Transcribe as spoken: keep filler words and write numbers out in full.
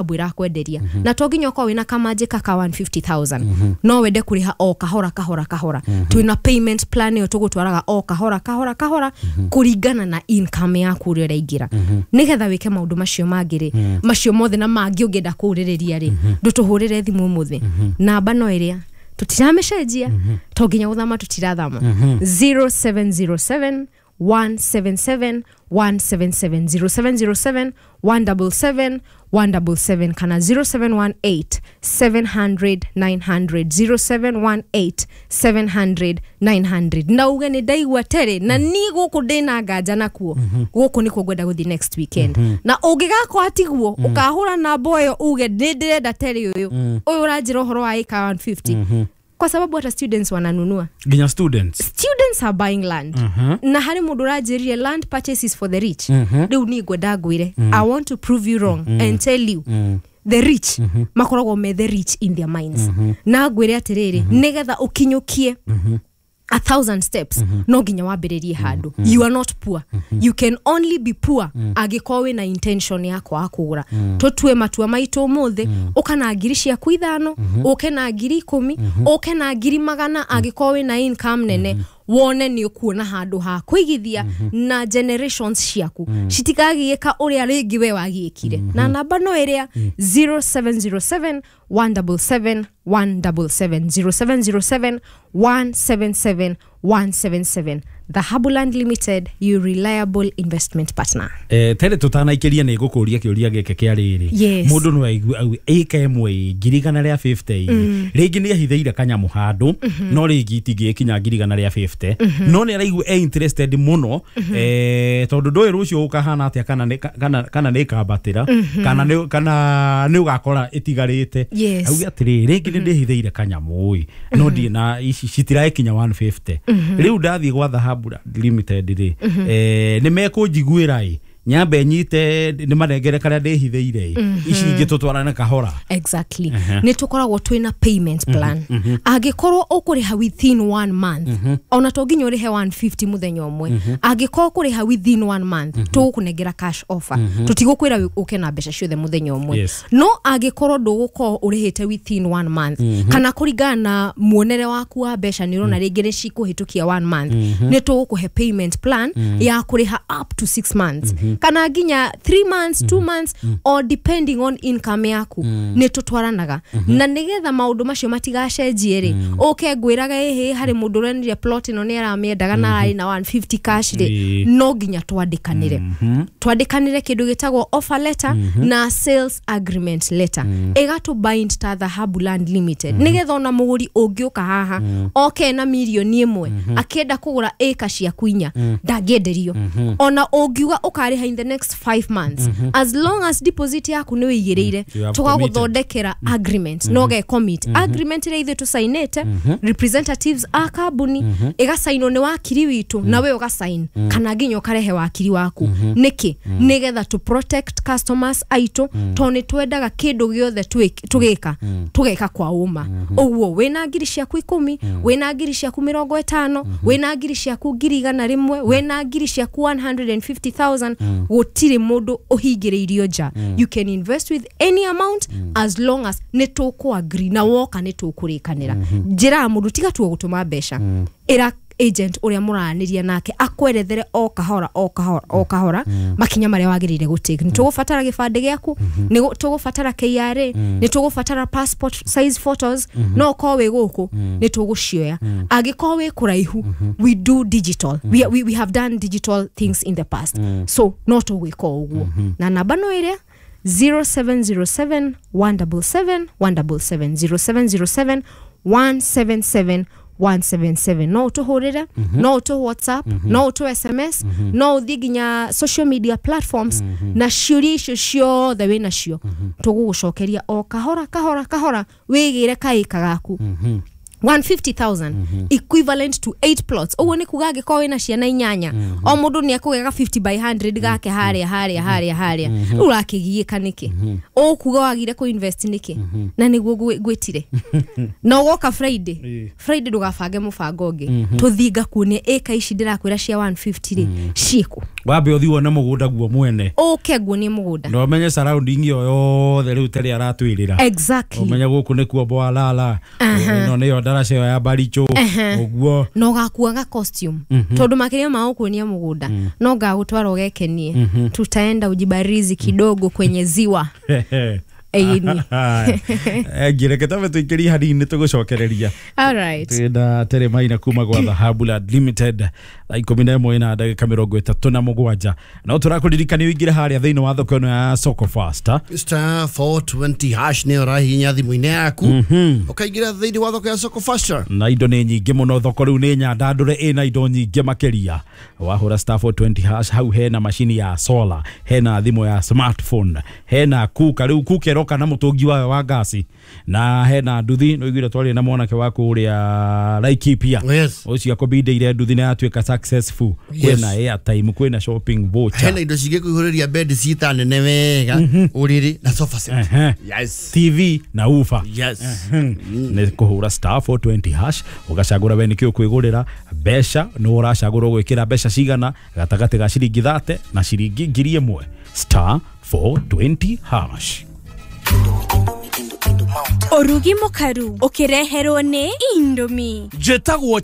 Ĩrakwenderia na to nginya ũkorwo wĩna kamanjĩ kaka one hundred fifty thousand, no wende kũrĩha o kahora kahora kahora. Twĩna payment plan ĩyo tũgũtwaraga o kahora kahora kahora kũringana na income yaku ũrĩa ũraingĩra, nĩgetha wĩke maũndũ macio mangĩ rĩ, macio mothe na mangĩ ũngĩenda kũũrĩrĩria rĩ. Ndũtũhũrĩre thimũ ũmũthĩ, namba no ĩrĩa tũtiramĩcenjia, to nginya gũthama tũtirathama: zero seven zero seven one seven seven one seven seven, zero seven zero seven one seven seven one seven seven, kana zero seven one eight seven hundred nine hundred, zero seven one eight seven hundred nine hundred. Na uge nĩ ndaigua terĩ na niĩ gũkũ ndĩna nganja nakuo, gũkũ nĩkuo ngwenda gũthiĩ next weekend. Na ũngĩgakwa tiguo ũkahũra namba ĩyo uge nĩ ndĩrenda terĩ ũyũ ũyũ ũranjĩra ũhoro wa ĩka one fifty, kwa sababu hata students wananunua. Nginya students? Students are buying land. Na harĩ mũndũ ũranjĩrire land purchase is for the rich. Rĩu niĩ ngwenda ngwĩre, I want to prove you wrong and tell you the rich makoragwo me the rich in their minds. Na ngwĩre atĩrĩrĩ, nĩgetha ũkinyũkie a thousand steps, no nginya wambĩrĩrie handũ. You are not poor. You can only be poor angĩkorwo wĩna intention ya kwaga kũgũra. Tũtue matua maitũ ũmũthĩ, ũka na ngiri ciaku ithano, ũke na ngiri ikũmi, ũke na ngiri magana angĩkorwo wĩna income nene, wone nĩ ũkuona handũ ha kũigithia na generations ciaku citikagiĩka ũrĩa rĩngĩ we wagiĩkire. Na namba no ĩrĩa zero seven zero seven one seven seven one seven seven, zero seven zero seven one seven seven one seven seven. Dhahabuland Limited, your reliable investment partner. Eh, tere tũtanaikĩria nĩ ngũkũria kĩũria gĩkĩ kĩa rĩrĩ. Yes. Mũndũ no aigue auge ĩka ĩmwe ngiri igana rĩa mĩrongo ĩnana rĩngĩ nĩ ahithĩire kanyamũ handũ, no rĩngĩ itingĩkinya ngiri igana rĩa mĩrongo ĩnana, no nĩ araigua e interested mũno, eh, tondũ ndũĩ rũciũ gũkahana atĩa, kana nĩ- kana kana nĩ ĩkambatĩra, kana nĩ kana nĩ ũgakora ĩtigarĩte. Yes. Auge atĩrĩrĩ, rĩngĩ nĩ ndĩhithĩire kanyamũ ĩ, no ndirĩ na ici citirakinya igana rĩa mĩrongo ĩnana. Rĩu ndathiĩ gwa Dhahabu Limited rĩ, eh, nĩ mekũnjiguĩra ĩ nyambe nyite nĩ manengere karĩa ndĩhithĩire ĩ, ici ingĩ tũtwarane kahora? Exactly. Nĩ tũkoragwo twĩna payment plan. Angĩkorwo ũkũrĩha within one month, ona to nginya ũrĩhe one fifty mũthenya ũmwe, angĩkorwo ũkũrĩha within one month, tũgũkũnengera cash offer. Tũtigũkwĩra ũke na mbeca ciothe mũthenya ũmwe. Yes. No angĩkorwo ndũgũkorwo ũrĩhĩte within one month, kana kũringana na muonere waku wa mbeca nĩ ũrona rĩngĩ nĩ cikũhĩtũkia one month, nĩ tũgũkũhe payment plan ya kũrĩha up to six months kana nginya three months, two months, or depending on income yaku. Nĩ tũtwaranaga na nĩgetha maũndũ macio matigacenjie rĩ, ũke ngwĩraga ĩhĩ harĩ mũndũ ũrenire plot ĩno nĩ aramĩendaga na ararĩ na one fifty cash rĩ, Ĩĩ. no nginya twandĩkanĩre twandĩkanĩre kĩndũ gĩtagwo offer letter na sales agreement letter, ĩgatũ bind ta Dhahabu Land Limited, nĩgetha ona mũgũri ũngĩũka haha oke na mirioni ĩmwe akĩenda kũgũra ĩka ciaku inya, ndangĩenderio. Ona ũngiuga ũkarĩha in the next five months, as long as deposit yaku nĩ wĩigĩrĩire, You have tũgagũthondekera agreement no ge commit agreement ĩrĩa ithuĩ tũcainĩte representatives a kambuni, ĩgacainwo nĩ wakiri witũ na we ũgacain, kana nginya ũkarehe wakiri waku. Nĩkĩ? Nĩgetha to protect customers aitũ, tondũ nĩ twendaga kĩndũ gĩothe twĩ- tũgĩka tũgeka kwa ũma. Ũguo wĩna ngiri ciaku ikũmi, wĩna ngiri ciaku mĩrongo ĩtano, wĩna ngiri ciaku ngiri igana rĩmwe, wĩna ngiri ciaku one hundred fifty thousand, gũtirĩ mũndũ ũhingĩrĩirio nja. You can invest with any amount as long as nĩ tũkũ agree na woka nĩ tũkũrĩkanĩra. Njĩraga mũndũ tiga tuo gũtũma mbeca, ĩra agent ũrĩa mũraranĩria nake akwerethere o kahora o kahora o kahora makinya marĩa wagĩrĩire gũtake. Nĩ tũgũbatara gĩbandĩ gĩaku, nĩ gũ- tũgũbatara K R A, nĩ tũgũbatara passport size photos. No ũkorwo wĩ gũkũ nĩ tũgũcioya, angĩkorwo wĩ kũraihu, we do digital. we, we, we have done digital things in the past, so no tũgwĩka o ũguo. Na namba no ĩrĩa zero seven zero seven one seven seven one seven seven, zero seven zero seven one seven seven one seven seven. No ũtũhũrĩre, no ũtũ WhatsApp, no ũtũ S M S, no ũthiĩ nginya social media platforms, na ciũria icio ciothe wĩ nacio tũgũgũcokeria o kahora kahora kahora, wĩgĩre kaĩka gaku. one hundred fifty thousand equivalent to eight plots. Ũguo nĩ kuga angĩkorwo wĩna ciana inyanya, o mũndũ nĩ ekũgega fifty by one hundred gake harĩa harĩa harĩa harĩa. Rĩu ũrakĩgiĩka nĩkĩ? Ũkuga wagire kũ invest nĩkĩ? Na nĩguo gwĩtire. Na ũgoka Friday, Friday ndũgabange mũbango ũngĩ. Tũthiĩ ngakuonia ĩka ici ndĩrakwĩra cia one fifty rĩ, ciĩkũ. Wambe ũthiĩ wone mũgũnda guo mwene. Ũke nguonie mũgũnda. Na ũmenye surrounding ĩyo yothe rĩu terĩ aratwĩrĩra. Exactly. Ũmenye gũkũ nĩkuo Bwalala. Ĩno nĩyo ndaraca ĩyo ya Baricho. Ũguo. Na ũgakuaga costume. Tondũ makĩria ma gũkuonia mũgũnda, no ngagũtwara ũgekenie. Tutaenda ujibarizi kidogo kwenye ziwa. Ĩni. Ngireke tabe tuikĩrie hanini tũgũcokereria. All right. Twĩna Terry Maina kuma gwa Dhahabu Land Limited thaa ikũmi na ĩmwe na ndagĩka mĩrongo ĩtatũ na mũgwanja. No tũrakũririkania ũingĩre harĩa thĩinĩ wa thoko ĩno ya Soko Fasta. Star four twenty hash nĩ ũrahihinya thimũ-inĩ yaku. Ũkaingĩra thĩinĩ wa thoko ya Soko Fasta. Na indo nĩ nyingĩ mũno, thoko rĩu nĩ nyandandũre ĩna indo nyingĩ makĩria. Wahũra star four twenty hash hau hena macini ya solar, hena thimũ ya smartphone, hena kuka rĩu kuka ĩroka na mũtũngi wayo wa ngasi, na hena nduthi. Nĩ ũiguire twarĩ na mwanake wa kũrĩa Laikipia. Yes. Ũcio akũbindĩire nduthi na yatuĩka successful. Yes. Kwĩna airtime, kwĩna shopping voucher. Hena indo cingĩkũihũrĩria bed cita nene wega, ũrĩrĩ na sofa set. Yes. T V na ufa. Yes. Nĩ kũhũra star four twenty hash ũgacagũra we nĩkĩ ũkwĩgũrĩra mbeca, nĩ ũracagũra ũgwĩkĩra mbeca cigana gatagatĩ ga ciringi thate na ciringi ngiri ĩmwe. Star four twenty hash. Urugi mukaru ukireherwo ni Indomie. Njĩtagwo